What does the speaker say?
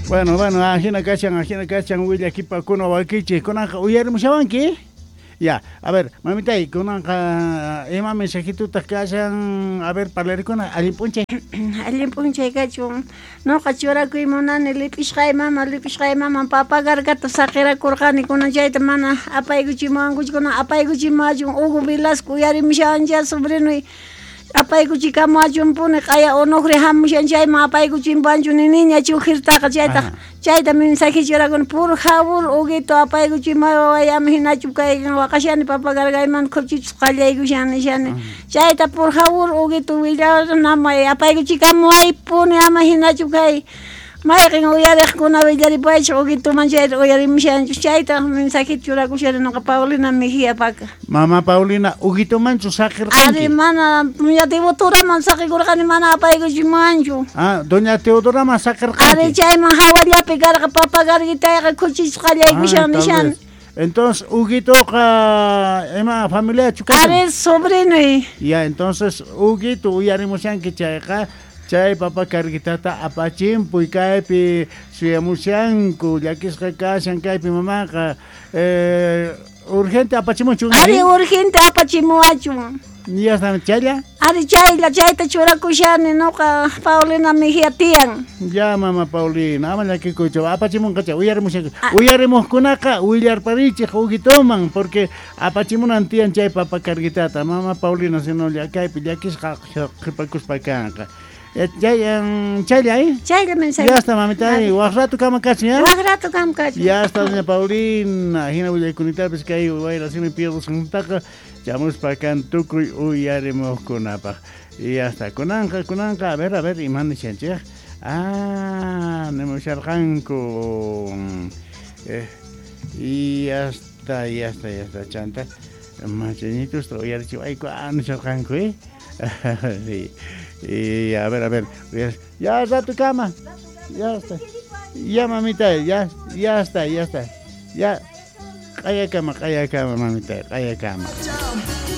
Bueno, bueno, ajina kashan, ajina kashan willakipakuna wakichik. Kunanqa uyarimushawanki? Ya, a ver, mamitay, kunanqa ima mensajitutaq kashan, a ver, parlarikuna, allin p'unchay. Allin p'unchay kachun. Nuqa churakuy munani lip'ishqay mama, lip'ishqay mama papa gargata saqirakurqani kunan chayta mana apaykuchimuwankuchu kunan apaykuchimuwachun Hugo Velasco uyarimushawancha sobrinuy apaykuchikamuwachunpuni q'aya Onofre hamushan chayman apaykuchimpuwanchu niniña chujirtaqa chaytaq chayta mensaje churakuni por favor Huguito apaykuchimuway waway ama hinachu kay waqashani papa gargaymanta khuchichus qallaykushan nishani chayta por favor Huguito willanamay apaykuchikamuwaypuni ama hinachu kay mayqin uyariqkuna willaripuwaychik Huguitoman chayta uyarimushanchu chayta mensaje churakushani nuqa Paulina Mejía paka. Mama Paulina, Huguitomanchu saqirqanki? Ari mana doña Teodoraman saqikurqani mana apaykuchimuwanchu. Ah, doña Teodoraman saqirqanki. Ari chayman hawallapi karqa papa garguitayqa khuchichus qallaykushan nishani. Entonces, Huguitoqa ima familiachu kashan? Ari sobrinuy. Ya, entonces Huguito uyarimushanki chayqa chay papa carguitata apachimpuy kaypi suyamushanku llakisqa kashan kaypi mamaqa urgente apachimunchu. Ari urgente apachimuwachun. Ya está, chaylla. Ari chaylla chayta churakushani nuqa Paulina Mejía tiyan. Ya mama Paulina, ama llakikuychu apachimunqa chay uyarimushanku. Uyarimuqkunaqa willarparichik Huguitoman porque apachimunan tiyan chay papa carguitata. Mama Paulina sino kaypi llakisqa qhipakuspa kanqa. Chaylla, ¿eh? Chaylla mensaje. Ya está, mamita, waq rato kama kachun, ¿ya? Waq rato kama kachun. Ya está, doña Paulina. Hina willaykunitapis kay wayra simi pierdusqantaqa chamuspa kan tukuy uyarimuqkunapaq. Y ya está. Kunanqa, kunanqa, a ver, iman nishanchik. Ah, nimusharqanku. Y ya está, ya está, ya está, chanta. Machañitusta uyarichiwayku, nisharqanku, ¿eh? Sí. Y a ver, ya rato kama, ya está, ya mamita, ya, ya está, ya está, ya, q'ayakama, q'ayakama, mamita, q'ayakama.